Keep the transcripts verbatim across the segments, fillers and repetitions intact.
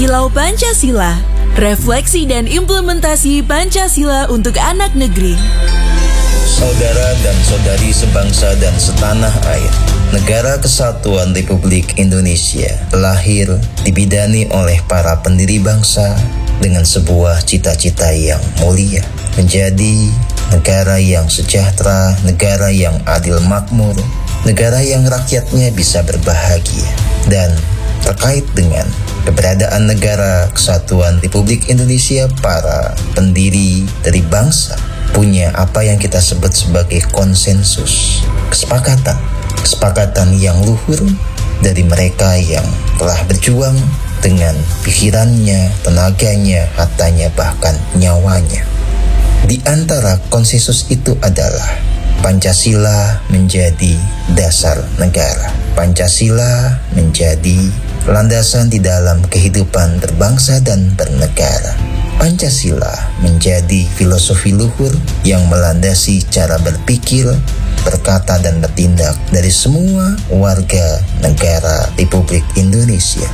Lau Pancasila, refleksi dan implementasi Pancasila untuk anak negeri. Saudara dan saudari sebangsa dan setanah air, Negara Kesatuan Republik Indonesia lahir dibidani oleh para pendiri bangsa dengan sebuah cita-cita yang mulia, menjadi negara yang sejahtera, negara yang adil makmur, negara yang rakyatnya bisa berbahagia. Dan terkait dengan keberadaan Negara Kesatuan Republik Indonesia, para pendiri dari bangsa punya apa yang kita sebut sebagai konsensus, kesepakatan, kesepakatan yang luhur dari mereka yang telah berjuang dengan pikirannya, tenaganya, hartanya, bahkan nyawanya. Di antara konsensus itu adalah Pancasila menjadi dasar negara. Pancasila menjadi landasan di dalam kehidupan berbangsa dan bernegara. Pancasila menjadi filosofi luhur yang melandasi cara berpikir, berkata, dan bertindak dari semua warga negara Republik Indonesia.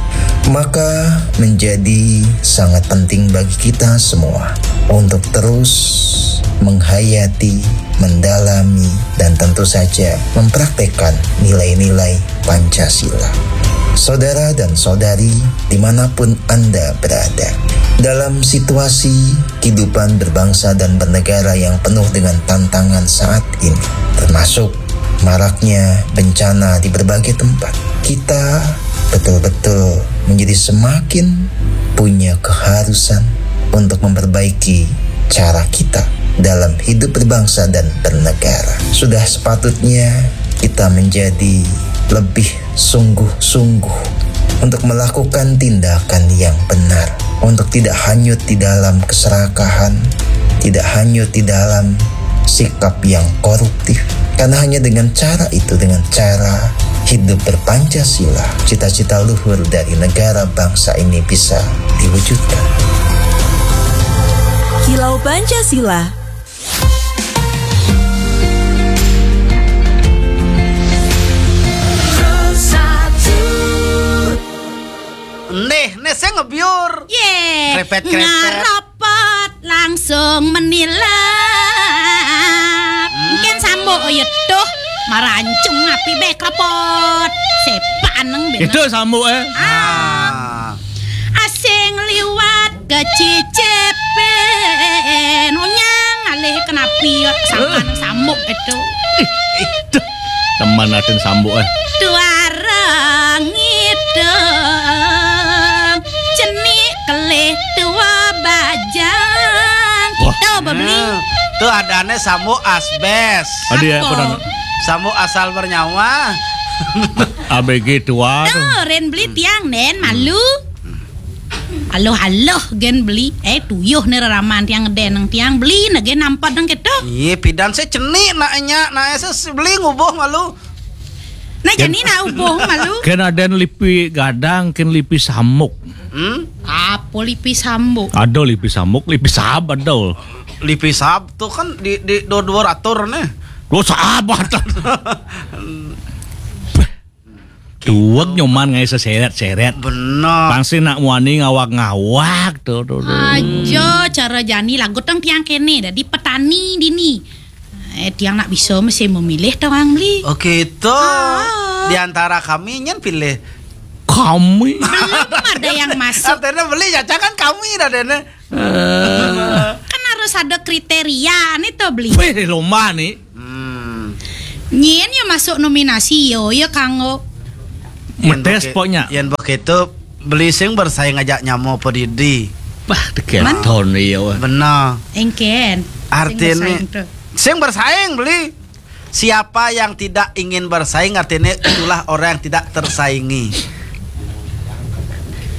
Maka menjadi sangat penting bagi kita semua untuk terus menghayati, mendalami, dan tentu saja mempraktekkan nilai-nilai Pancasila. Saudara dan saudari, dimanapun Anda berada, dalam situasi kehidupan berbangsa dan bernegara yang penuh dengan tantangan saat ini, termasuk maraknya bencana di berbagai tempat, kita betul-betul menjadi semakin punya keharusan untuk memperbaiki cara kita dalam hidup berbangsa dan bernegara. Sudah sepatutnya kita menjadi lebih sungguh-sungguh untuk melakukan tindakan yang benar, untuk tidak hanyut di dalam keserakahan, tidak hanyut di dalam sikap yang koruptif. Karena hanya dengan cara itu, dengan cara hidup berpancasila, cita-cita luhur dari negara bangsa ini bisa diwujudkan. Kilau Pancasila. Nih, nih saya ngebiur. Ye, Krepet-krepet. Ngarepet langsung menilap. Mungkin sambuk, oh ya tuh, marancung api be krepot. Sepaneng bener. Itu sambuk eh. Ah, asing liwat kecicipin. Onyang alih kenapi ya, sangkan sambuk itu. Itu. Teman atin sambuk eh. Tuara ngideng, cenik kelih tua bajang. Wah. Kita beli. Tuh adanya sambuk asbes. Ada ya Apa? Pernah. Sambuk asal bernyawa. A B G tua tuh. Tuh, Ren beli tiang den malu. Aloh aloh gen beli. Eh, tuyuh nih reraman tiang den nang tiang beli nah gen nampat dong gitu. Iya, pidan saya cenik naknya, nak saya beli ngubuh malu. Nah, jadi nak ubuh malu. Kan ada lipi gadang, kan lipi samuk. Hmm? Apa lipi sambuk? Ada lipi samuk, lipi sab ada. Lipi sab tuh kan di di dua dua ratur nih. Lo sahabat. Tuwek nyoman ngai seseret-seret. Benar. Pasti nak muani ngawak-ngawak tuh, tuh, tuh. Aja cara jani lagu tang tiang kene dadi petani dini. Eh, tiang nak bisa mesti memilih tang beli. Oke itu. Ah. Di antara kami nyen pilih. Kami. Belum ada yang masuk. Artinya beli caca kan kami dah dene. Eh, Kan harus ada kriteria nih tuh beli. Wih, lomba nih. Hmm. Nyen ya masuk nominasi yo ya kanggo. Metes Yen pokoknya. Yen begitu beli sing bersaing aja nyamo apa didi. Wah, teketon iya wah. Benar. Engken. Artinya Sing bersaing tuh. Sing bersaing beli. Siapa yang tidak ingin bersaing artinya itulah orang yang tidak tersaingi.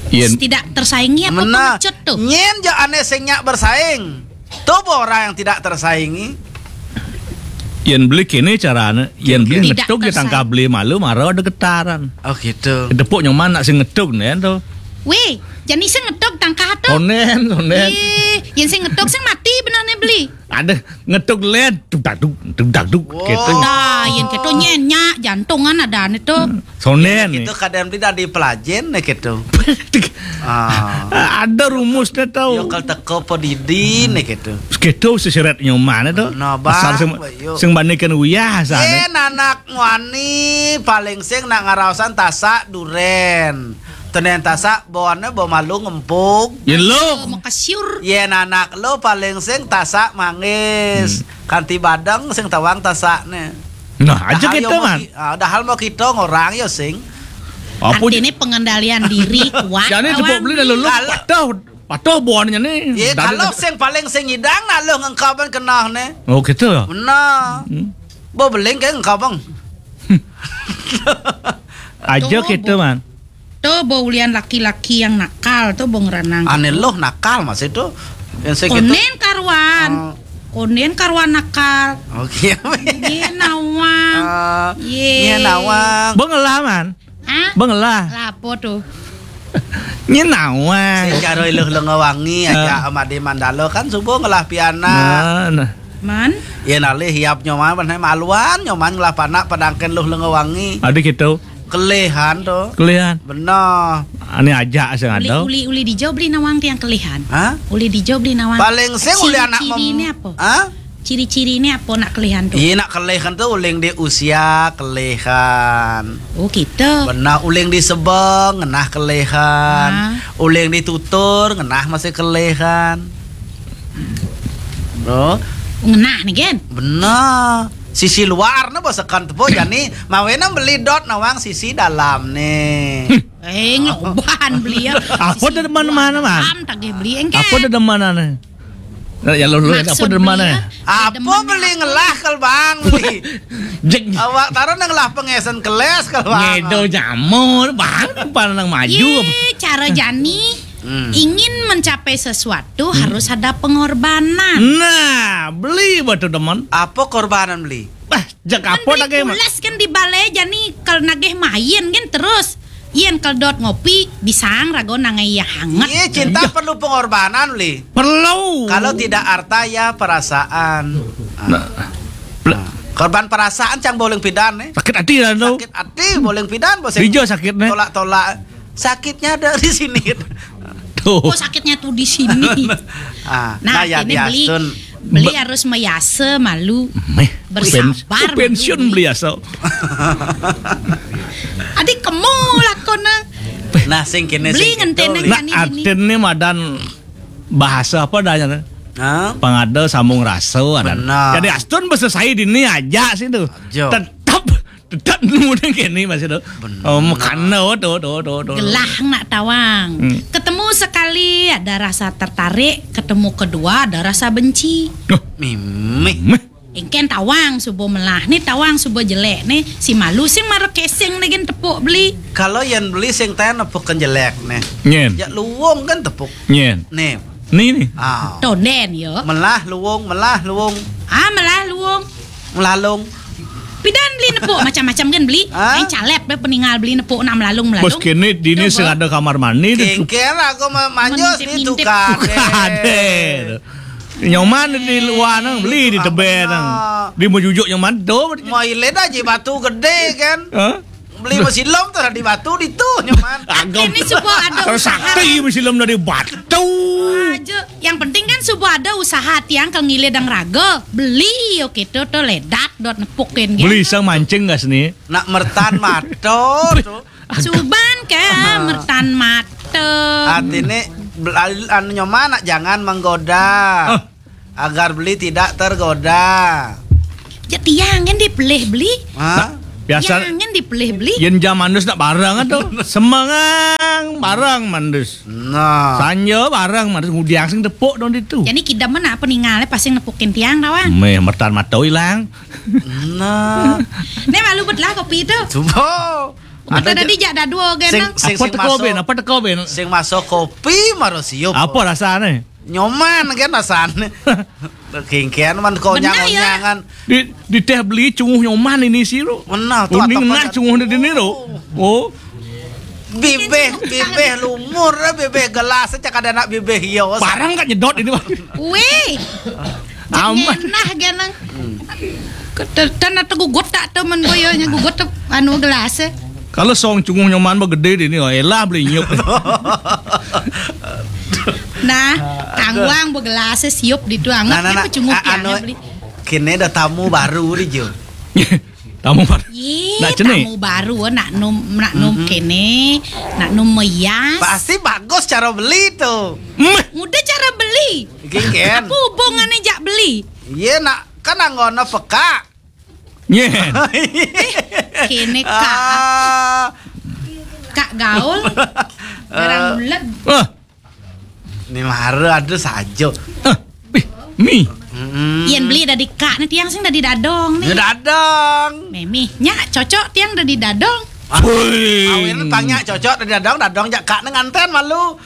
Yen Tidak tersaingi apa Benar. pengecut tuh? Nyen je aneh sing nyak bersaing. Tuh orang yang tidak tersaingi. yen beli kene carane, yen beli Tidak ngetuk ya tangkap tersaing. beli malu mara ada getaran. Oh gitu. Tepuk nyoman nak sing ngetuk nih tuh. Wéh, jani sing ngetug tangkah to. Sonden, sonden. Ih, yén sing ngetug sing mati benehné beli. Ada ngetug lén, dug dag dug, dug dag dug, gitu. Ada, yén kéto nyén nyak jantungan adané to. Sonden. Itu kadang beli dari pelajen né gitu. Ah. Ada rumusnya tau. Yo kal teko pedidi né gitu. Gitu seseret nyoman to. Nah, asal sing, sing bandingkan uyah asal. Yén anak wani paling sing nak ngaraosan tasak durén. Tenen tasak boné bo malu ngempuk. Yén lo. Makasiur. Yén anak lo paling sing tasak manggis. Kanti badeng sing tawang tasakné. Nah, aja kita, Man. Dahal mau kita ngorang ya sing. Apa artinya pengendalian diri kuat. Jani tepuk beli lalu patuh, patuh boné nih. Iya, kalau sing paling sing idang nah lo ngengkaban kenah nih. Oh, gitu ya? Benar. Bo beling kayak ngengkabang. Aja kita, Man. To bo ulian laki-laki yang nakal to bo ngeranang. Ané loh nakal masih to. Yang saya gitu. Konden karuan. Oh. Konden karuan nakal. Oke. Yé nawang. Ah, yé. Yé nawang. Bo ngelah, Man. Hah? Bo ngelah. Lapo to? Nyé nawang. Sing karo Luh Lenga Wangi aja sama Ade Mandalo kan subuh ngelah pianak. Nah, nah. Man? Yén alih hiap nyoman, maluan nyoman ngelah panak padangken Luh Lenga Wangi. Ada gitu. Kelihan to. Kelihan. Bener. Ané aja sing ada. Uli, uli, uli dijo beli nawang tiang kelihan. Hah? Uli dijo beli nawang. Paling sing uli anak ciri-ciri mem- ini apa? Hah? Ciri-ciri ini apa nak kelihan to? Iya, nak kelihan to uling di usia kelihan. Oh, gitu. Bener, uling di sebeng ngenah kelihan. Ah. Uling di tutur ngenah masih kelihan. Bro. Ngenah nih, Gen. Bener. Sisi luar né bosekan tepo jani mawena beli dot nawang sisi dalam nih. Eh, ngeloban beli ya. Apa sisi demen luar mana, Man? Dalam tagih beli engke. Apa demen mana? Nah, ya lo, lo, apa demen mana? Apa beli ngelah kal Bang beli? Jeng. Awak taruh nang ngelah pengesen keles kal Bang. Ngedo jamur, Bang, apa nang maju? Ye, cara jani. Hmm. Ingin mencapai sesuatu harus ada pengorbanan. Nah, beli batu demen. Apa korbanan beli? Bah, jak apa nagih mah? Pules kan di balai jani kal nagih main kan terus. Yén kal dot ngopi, bisang rago nangai ya hangat. Iya, cinta perlu pengorbanan, beli. Perlu. Kalau tidak harta ya perasaan. Nah. Nah. Korban perasaan cang boling pidan nih. Sakit hati lah tuh. Sakit hati boling pidan bos. Ijo sakitnya. Tolak-tolak. Sakitnya ada di sini. Tuh. Oh, sakitnya tuh di sini. Ah, nah, nah, ya ini beli, diastun. Beli harus mayasa malu. Meh, bersabar pens-, pensiun malu. Beli asa. Adi kemu lakona. Nah, sing kene beli sing ngentene gitu, nah, artine madan bahasa apa adanya? Hah? Pangada sambung rasa ada. Benar. Jadi astun basa saya dini aja sih tuh. Aja. Tetap Tetap nemu deh kene masih tuh. Bener. Oh, makana tuh, tuh, tuh, tuh. Gelah nak tawang. Hmm. Ketemu sekali ada rasa tertarik, ketemu kedua ada rasa benci. Duh. Mimih. Meh. Engken tawang subo melah nih, tawang subo jelek nih, si malu sing mara keseng nih gen tepuk beli. Kalau yang beli sing tanya nepuk kan jelek nih. Nyen. Ya luwung kan tepuk. Nyen. Nih. Nih, nih. Ah. Tonden yo. Melah luwung, melah luwung. Ah, melah luwung. Melalung. Pidan beli nepuk macam-macam kan beli. Hah? Main calep be peningal beli nepuk nak melalung-melalung. Bos kene dini sing ada kamar mandi deh. Kengker aku ma-, manjos ni tukar. Tukar deh. Nyoman di luar nang beli di tebe nang. Di mejujuk nyoman do. Mau ilet aja batu gede kan. Hah? Beli mesilom tuh di batu di tuh nyoman. Agam. Ini subuh ada terus usaha. Sakti mesilom dari batu. Aja. Yang penting kan subuh ada usaha tiang kal ngile dang raga. Beli yo kita tuh ledak dot nepukin gitu. Beli sang mancing gas nih. Nak mertan mato tuh. Suban ke mertan mato. Artine bel-, anu nyoman nak jangan menggoda. Hah? Agar beli tidak tergoda. Ya tiang kan dipelih beli. Hah? Nah, biasa tiang kan dipelih beli. Yen jam mandus nak barang tuh. Semengang barang mandus. Nah. Sanja barang mandus ngudiang sing tepuk dong ditu. Jadi kidam mana apa ningalnya pasti nepukin tiang tawang. Meh mertan mato ilang. Nah. Nih malu bet lah kopi itu. Coba. Ada tadi jak dadua genang. Sing, sing, apa teko ben? Apa teko ben? Sing masuk kopi maro siup. Apa rasane? Nyoman kan rasane. Kengkean man konyang-konyangan. Di, di teh beli cunguh nyoman ini sih lo. Benar tuh. Kuning nah cunguh di sini lo. Oh. Bibih, bibih lumur, bibih gelas, cak ada anak bibih hios. Barang kan nyedot ini, Bang. Wih. Aman. Ngenah genang. Ketetan atau gugut tak tu men boyonya gugut tu anu gelas. Kalau song cunguh nyoman ba gede di ni, oh, elah beli nyup. Nah, tangguang ba gelas siup di tu anget. Nah, nah, nah. Cunguh a- anu, beli. Kini ada tamu baru di jo. Tamu baru. Ye, nak cenik. Tamu baru nak nom nak nom kene, nak nom meyas. Pasti bagus cara beli tu. Meh. Mudah cara beli. Genggen. Apa hubungannya jak beli? Ye nak kan anggona peka. Nyen. Kene kak. Ah. Kak gaul. Barang ulet. Wah. Ni mara ada saja. Ah, ih, mi. Mm-mm. Yen beli dadi kak ni tiang sing dadi dadong ni. Ya dadong. Memih, nyak cocok tiang dadi dadong. Ah, woi. Awin pangnya cocok dadi dadong, dadong jak kak ni nganten malu.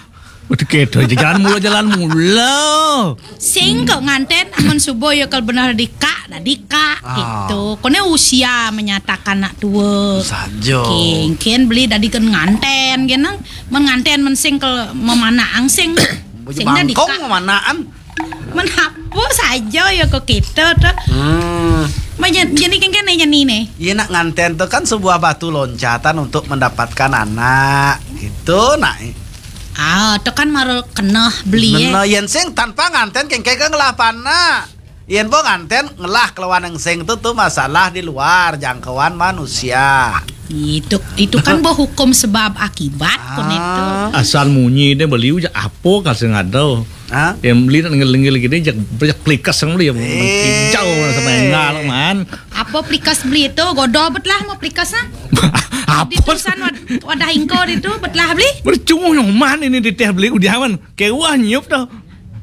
Waduh, kedo aja jalan mula, jalan mula. Sing kok nganten amun subuh ya kal bener dadi kak, dadi kak gitu. Kone usia menyatakan nak tua. Saja. King, ken beli dadi ken nganten genang. Men nganten men sing kel memanah angsing. Baju sing dadi bangkong kak. Memanaan. Men apa saja ya kok kita tu. Hmm. Jadi ken kene nyeni ne. Iya nak nganten tu kan sebuah batu loncatan untuk mendapatkan anak gitu nak. Ah, tu kan maru keneh beli eh. Bener, yen sing tanpa nganten kengke ke ngelah panak. Yen bo nganten ngelah kelawan yang sing tu, tu masalah di luar jangkauan manusia. Itu itu kan bo hukum sebab akibat kun itu. Ah. Asal munyi deh beli uja apa kasih ngadau. Ah. Yang beli nak ngel-ngel gini jak jak plikas yang beli yang hijau sama enggak man. Apa plikas beli itu? Godo bet lah mau plikas nah. Apa? Di tulisan wad- wadah ingko itu bet lah beli. Bercunguh nyoman ini di teh beli udah man. Kewah nyiup tau.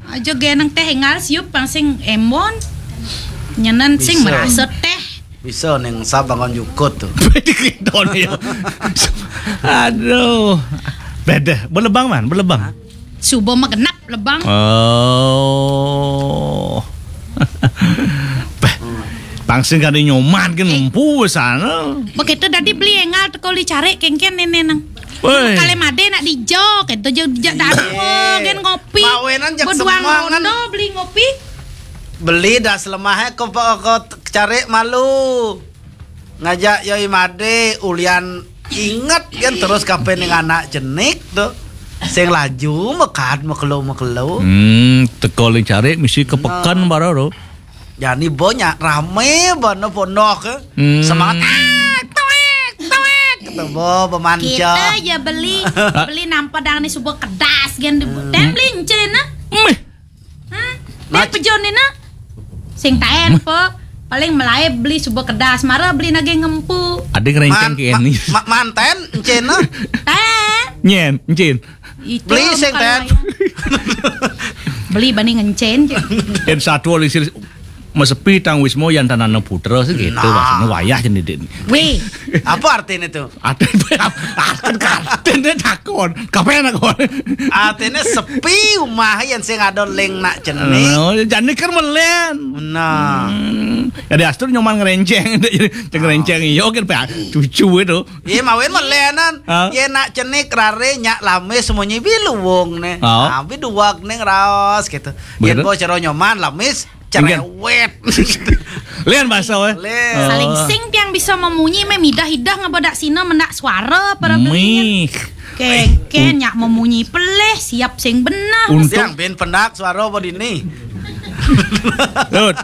Aja genang teh engal siup pang sing embon. Nyenan sing bisa. Merasa teh. Bisa neng sab bangun jukut tu. Dikidon ya. Aduh. Beda. Belebang man, belebang. Subuh mah genap lebang. Oh. Bah, pang sing kali nyoman kan ngempu sana. Begitu tadi beli engal teko li cari kengken nene nang. Woi. Kale made nak dijok, itu je dijak dak ada, gen ngopi. Mawenan jak. Beduang semangan. Rondo beli ngopi. Beli dah selemahnya ke, ke, ke cari malu. Ngajak yoi made ulian inget kan terus kape ning anak cenik tu. Sing laju mekat mekelo-mekelo. Hmm, teko li cari misi ke pekan baru tu. Jani banyak rame bana pondok ke. Hmm. Semangat. Ah, tuik, tuik. Kata bo pemanca. Kita ya beli beli nampadang ni subuh kedas gen di dan beli encen ah. Meh. Hah? Nah, pejon ni nak. Sing taen po. Paling melai beli subuh kedas mara beli nage ngempu. Ada ngerenceng ke ni. Ma- manten encen ah. Taen. Nyen, encen. Itu beli sing taen. Beli bani ngencen je. En satu oli sil mesepi tang wismo yan tanana putra segitu nah. Maksudnya wayah jadi dek. Weh. Apa artinya tu? Artin artin artin dia takon. Kapan takon? Artinya sepi rumah yang sing ada leng nak cenik. Oh, jadi kan melen. Nah. Hmm. Jadi astur nyoman ngerenceng, jadi ngerenceng iyo kan pe cucu itu. Iya mawin melenan. Hah? Iya nak cenik rare nyak lame semuanya biluwong ne. Oh. Nah, biduwak ne ngeraos gitu. Yen bo cero nyoman lamis cerewet. Lian bahasa weh. Lian. Saling sing tiang bisa memunyi meh midah-idah ngebedak sina mendak suara para belinya. Kengken nyak memunyi peleh siap sing benar. Untung ben pendak suara apa dini. Lut.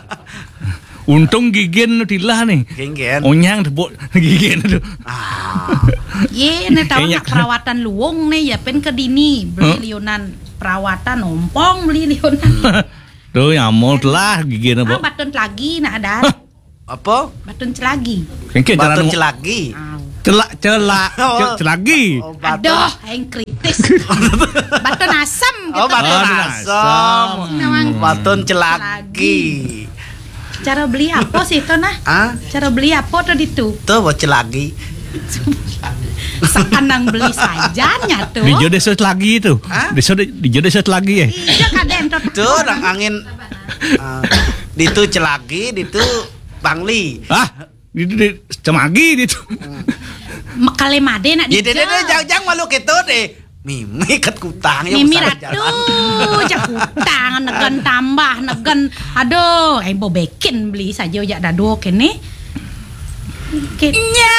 Untung gigen tu tilah ni. Kengken. Onyang tepuk gigen tu. Ah. Ye ne tahu nak perawatan luwung ne ya pen ke dini beli liunan perawatan ompong beli liunan. Tu yang mau telah gigi na. Ah, batun celagi nak ada. Hah? Apa? Batun celagi. Kengke batun celagi. Celak celak celagi. Oh. Aduh, yang kritis. Batun asam gitu. Oh, batun asam. Batun celagi. Cara beli apa sih itu nah? Ah? Cara beli apa tuh ditu? Tuh buat celagi. Sekanang beli sajanya tuh. Di jodoh set lagi itu. Hah? Di jodoh set lagi ya. Iya kaden tuh. Tuh orang angin. Ah, ditu celagi, ditu bangli. Ah, ditu di cemagi ditu. Hmm. Mekale made nak Ya deh deh deh, dijang. Jang Jang malu kita deh. Mimi ket kutang ya Mimi usah ratu, jak utang, negen tambah, negen. Aduh, eh bo bikin beli saja jak dado kene. Oke. Nya